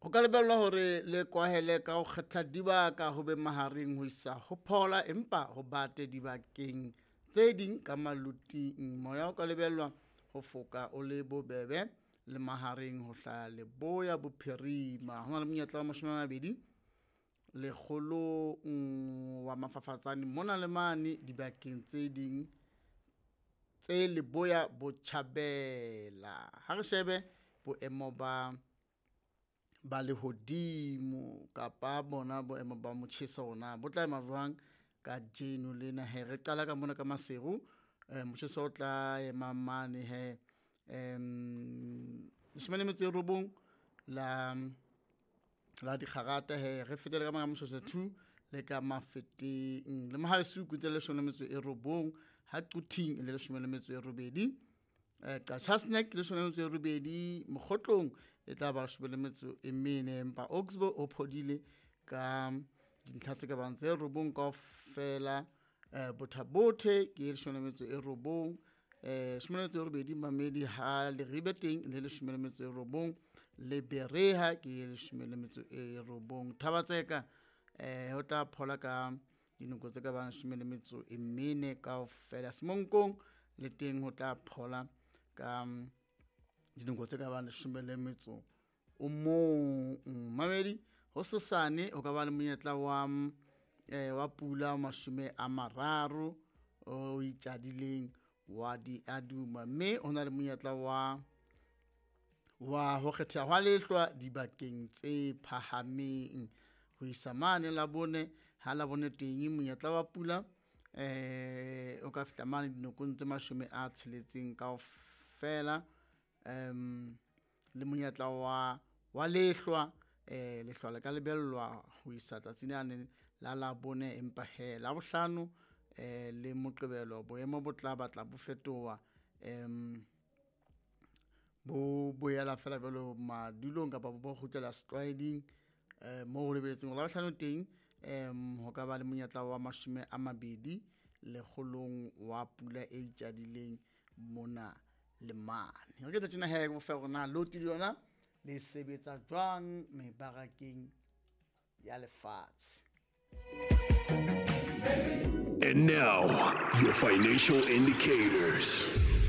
Ho ka lebellwa hore le kwahele ka ho kgetha dibaka ho be mahareng ho isa ho phola empa ho bate dibakeng tse ding ka maloting. Moya o ka lebellwa ho foka o le bobebe le mahareng ho hlaha leboya bophirima. Ho na le monyetla wa 20 lekgolong wa mafafatsane mona le mane dibakeng tse ding tse leboya botjhabela. Ha re shebe boemo ba ba lehodimo kapa bona boemo ba motjheso na bo tla ema jwang kajeno lena he. Re qala ka mona ka Maseru, motjheso o tla ema mane he 19 la la dikgarata he. Re fetele ka mona Moshoeshoe 2 le ka Mafeteng le Mohale'shoek tse 19, ha Quthing le 18, Qacha's Nek 18, Mokhotlong e tla ba 14, empa Oxbow o phodile ka dintlha tse ka bang tse 9 kaofela. Botha-Bothe ke 19, 18 Mamedi ha Leribe teng le 19, le Berea ke 19. Thaba-Tseka ho tla phola ka dinoko tse ka bang 14 kaofela. Semonkong le teng ho tla phola ka dinoko tse ka bang 11. Mamedi ho sesane ho ka ba le monyetla wa pula 30 o itjadileng wa diaduma, mme ho na le monyetla wa ho kgetheha hwa lehlwa dibakeng tse phahameng ho isa mane Labone. Ha Labone teng monyetla wa pula o ka fihla mane dinokong tse 60 kaofela, le monyetla wa lehlwa. Lehlwa le ka lebellwa ho isa tsatsing lane la Labone, empa he Labohlano le Moqebelo boemo bo tla batla bo fetoha, bo boela fela jwalo madulong kapa bo kgutlela setlwaeding, moo ho lebelletsweng hore Labohlano teng ho ka ba le monyetla wa 20 lekgolong wa pula e itjadileng mona le mane. Re ke tjena he bo fe hore na loti le yona le sebetsa jwang mebarakeng ya lefatshe. And now, your financial indicators.